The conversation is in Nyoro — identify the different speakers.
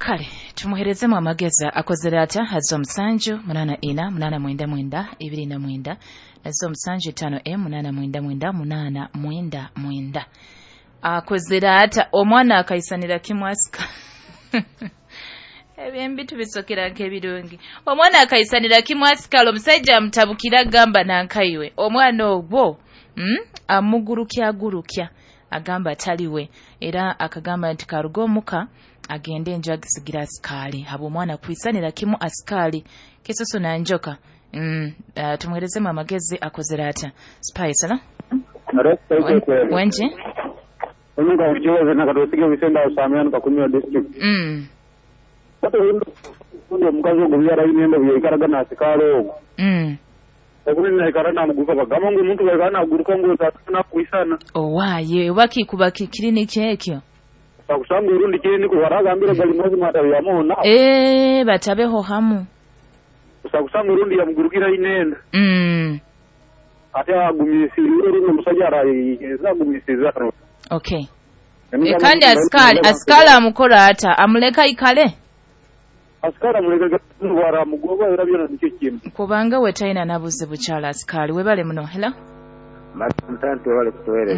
Speaker 1: Kale tumuherezemu amagezi, akozere ata? Haza 7 8 4 8 9 9 29 nazo 7 5 m 8 9 9 8 9 9. Akozere ata? Omwana akaisanira kimu asika ebyembi tubisokera nk'ebirungi. Omwana akaisanira kimu asikala, omusajja amutabukira, agamba nankaiwe omwana ogwo amugurukya agurukya, agamba ataliwe, era akagamba nti karuga omuka agende enju agisigira asikaali habw'omwana kwisanira kimu asikaali kisusu na njoka. Tumuherezemu amagezi, akozere ata? Spice, hello? Wenje.
Speaker 2: Omuka ukiwa na katosige bisenda usamea kakumira district. Ate omukazi ogwo byarayine byaikaraga nasikaali ogwo. Okundi naikara namuguruka, bagamba ngu omuntu baikara naguruka ngu nakuisana.
Speaker 1: Owaye oba kikuba kiriniki ekyo.
Speaker 2: Sakusanga urundi kiriniki waragambira gali mazima atayamuho na.
Speaker 1: Batabeho hamu.
Speaker 2: Sakusanga urundi yamugurukira inenda. Ate agumisiriza urundi omusajja arayeza agumisiza.
Speaker 1: Okay. Kandi asikali amukora ata? Amuleka ikale?
Speaker 2: Asikali amuleka bwara mugoba era byona nikyo kintu.
Speaker 1: Kubanga we talina nabuzibu kyala asikali. Webale muno. Hello?
Speaker 3: Mtantu wale kutuwele.